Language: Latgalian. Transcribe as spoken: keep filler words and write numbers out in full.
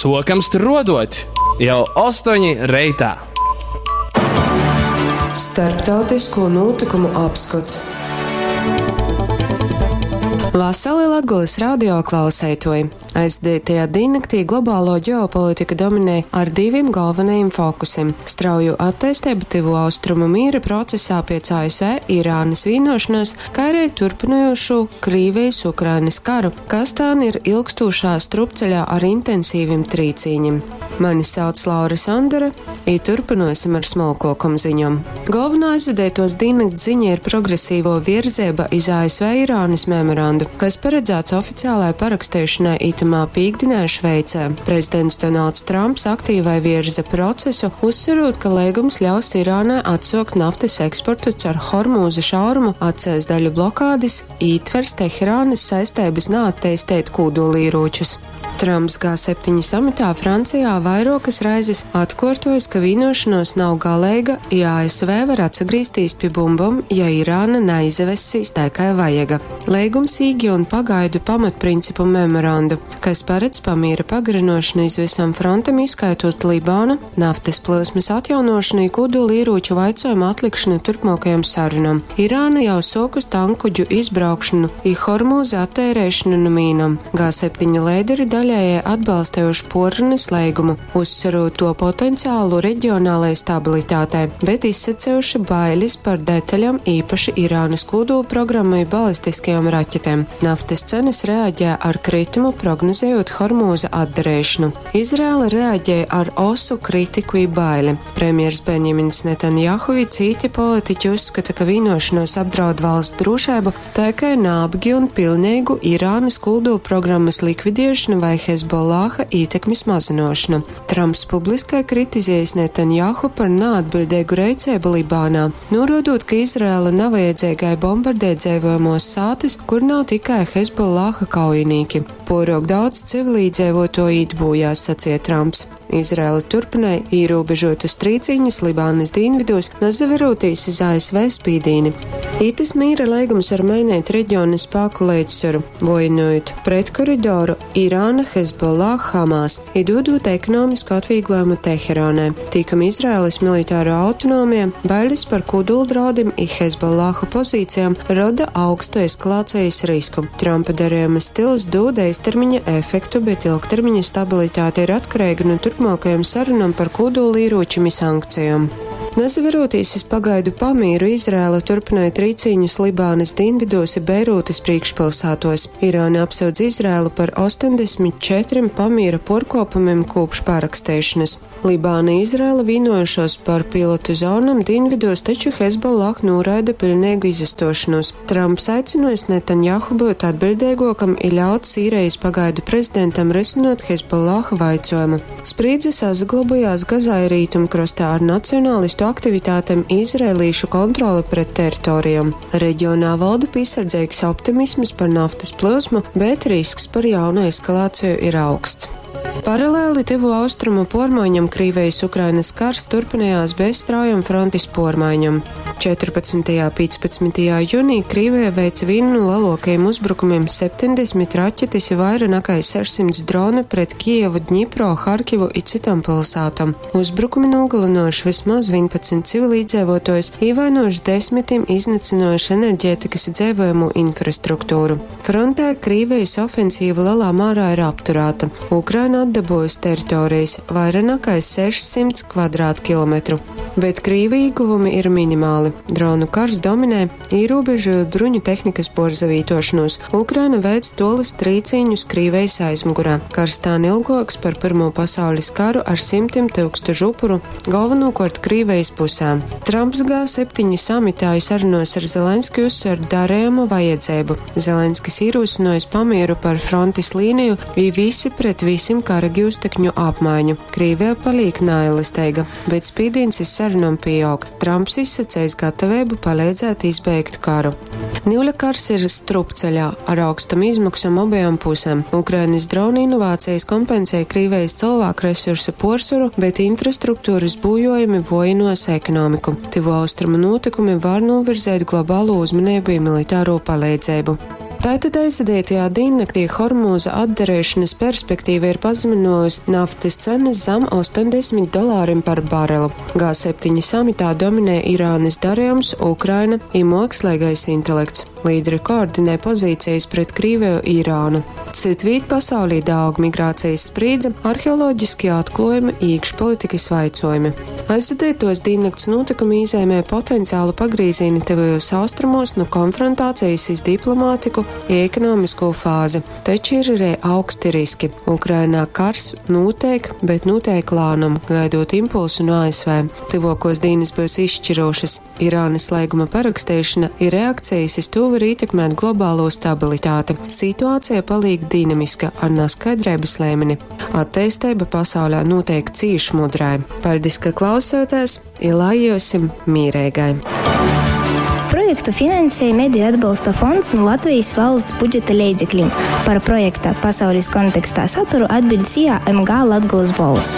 Sokam struodot jau ostoņi reitā. Starptautisko notikumu apskots. Vasali Latgulas radio klauseitoji! Aizdītajā dīnnaktī globālo ģeopolitika dominē ar diviem galvenajiem fokusiem - strauju attīstību Tuvu Austrumu mīra procesā pēc A S V Irānas vienošanās, kā arī turpinojošu Krīvijas-Ukrainas karu, kas tā ir ilgstošā strupceļā ar intensīvim trīcīņiem. Mani sauc Laura Sandere, i turpinosim ar smolkokom ziņom. Galvenā aizvadētos dīnnakts ziņa ir progresīvo virzība iz A S V Irānas memorandu, kas paredzēts oficiālai parakstēšanai itamā pīkdinē Šveicē. Prezidents Donalds Trumps aktīvai virza procesu, uzsverot, ka līgums ļaus Irānai atsokt naftas eksportu caur Hormūza šaurumu, atcēs daļu blokādes, ītvers Teherānas saistības neattīstīt kūdolīročus. Trumps G septiņi samitā Francijā vairokas raizes atkārtojas, ka vienošanos nav galīga, ja A S V var atsagrīzties pie bumbom, ja Irāna neizvesīs tā, kā vajaga. Līgums īgi un pagaidu pamatprincipu memorandu, kas paredz pamiera pagarinošanu iz visam frontam, izskaitot Libānu, naftas plūsmas atjaunošanu i kodolieroču vaicojumu atlikšanu turpmākajam sarunam. Irāna jau sokus tankuģu izbraukšanu i Hormūza attērēšanu no mīnam. G septiņi līderi daļēji atbalstējuši porrunas līgumu, uzsverot to potenciālu reģionālajai stabilitātei, bet izsacējuši bailes par detaļām, īpaši Irānas kodolu programmu i balistiskajām raķetēm. Naftas cenas reaģē ar kritumu, prognozējot Hormūza atdarēšanu. Izraela reaģēja ar osu kritiku i baili. Premjers Benjamins Netanjahu i citi politiķi uzskata, ka vienošanos apdraud valsts drošību, tā kā nābgi un pilnīgu Irānas kodolu programmas likvidēšanu vai Hezbollaha ietekmes mazinošanu. Trumps publiskai kritizējis Netanjahu par neatbildīgu reicēbu Libānā, norādot, ka Izraela nav vajadzīgai bombardēt dzīvojamos sātis, kur nav tikai Hezbollaha kaujinieki. Porok daudz civilīdzēvoto īt bojā, sacīja Trumps. Izraela turpināja ierobežotus trīciņus Libānas dienvidos, nazaverotīs iz A S V spīdīni. Itas mīra līgums var mainīt reģiona spēku līdzsvaru, vojinojot pret koridoru Irāna, Hezbollah, Hamas, i dodot ekonomisku atvieglojumu Teherānai. Tikam Izraēlas militāro autonomija, bailes par kodoldraudim i Hezbollahu pozīcijām roda augstu eskalācijas risku. Trumpa darījuma stils dod īstermiņa efektu, bet ilgtermiņa stabilitāte ir atkarīga no turpmākajām sarunām par kodolieročiem i sankcijām. Nazaverotīs iz pagaidu pamīru, Izraela turpināja trīcīņus Libānas dienvidos i Beirūtas priekšpilsētos. Irāna apsūdz Izraelu par astoņdesmit četrim pamīra porkopumiem kopš parakstēšanas. Libāna Izraela vienojušos par pilotu zonam dienvidos, taču Hezbollah noraida pilnīgu izastošanos. Trumps aicinājis Netanjahu būt atbildīgākam i ļaut Sīrijas pagaidu prezidentam risinot Hezbollah vaicojumu. Sprīdze saglabājās Gazā i rītumkrastā ar nacionālistu aktivitātēm izrēlīšu kontroli pret teritorijām. Reģionā valda piesardzīgs optimisms par naftas plūsmu, bet risks par jaunu eskalāciju ir augsts. Paralēli Tuvu Austrumu pormaiņam Krīvijas-Ukrainas kars turpinājās bez straujam frontis pormaiņam. četrpadsmitā un piecpadsmitā jūnijā Krīvija veica vienu no lielākajiem uzbrukumiem - septiņdesmit raķetes i vairāk nekā sešsimt dronu pret Kijevu, Dņipro, Harkivu i citam pilsētām. Uzbrukumi nogalinojuši vismaz vienpadsmit civilīdzīvotājus, ievainojuši desmitim, iznīcinojuši enerģētikas dzīvojumu infrastruktūru. Frontē Krīvijas ofensīva lielā mērā ir apturēta. Ukraina atdabūjusi teritorijas vairāk nekā sešsimt kvadrātkilometru, bet Krīvi ieguvumi ir minimāli. Dronu kars dominē, ierobežojot bruņu tehnikas porzavītošanos. Ukraina veic tolis trīcīņus Krīvijas aizmugurā. Kars tā ilgāks par Pirmo pasaules karu ar simtiem tūkstošu upuru, galvenokārt Krīvijas pusē. Trumps G septiņi samitā sarunos ar Zelenski uzsver darījuma vajadzību. Zelenskis ierosinojis pamieru par frontes līniju, i visi pret visiem kara gūstekņu apmaiņu. Krīvija paliek nailisteiga, bet spīdīns iz sarunām pieaug. Trumps izsacējis gatavību palīdzēt izbeigt karu. Niuļa kars ir strupceļā ar augstam izmaksām abajām pusēm. Ukrainas dronu inovācijas kompensē Krīvijas cilvēku resursu porsvaru, bet infrastruktūras būjojumi vojinos ekonomiku. Tuvo austrumu notikumi var novirzēt globālo uzmanību i militāro palīdzību. Tātad aizvadītajā diennaktī Hormūza atdarīšanas perspektīva ir pazeminājusi naftas cenas zem astoņdesmit dolāriem par barelu. G septiņi samitā dominē Irānas darījums, Ukraina un mākslīgais intelekts. Līderi koordinē pozīcijas pret Krieviju Irānu. Citvīt pasaulī daug migrācijas sprīdze, arheoloģiskie atklājumi, iekšpolitikas vaicojumi. Aizvadītos diennakts notikumi īzēmē potenciālu pagrīzīni tuvajos austrumos no konfrontācijas iz diplomātiku i ekonomisko fāzi. Taču ir arī augsti riski. Ukrainā kars notiek, bet notiek lānum, gaidot impulsu no A S V. Tuvākos dienas būs izšķirošas. Irānas līguma parakstīšana ir reakcijas iz to var ietekmēt globālo stabilitāti. Situācija paliek dinamiska ar neskaidrības līmeni. Attīstība pasaulē notiek cīši mudrai. Paldies, ka klausoties, ilājosim mīrēgai. Projektu finansēja Mediju atbalsta fonds no Latvijas valsts budžeta leidzekļiem. Par projekta pasaules kontekstā saturu atbild S I A M G Latgulas bols.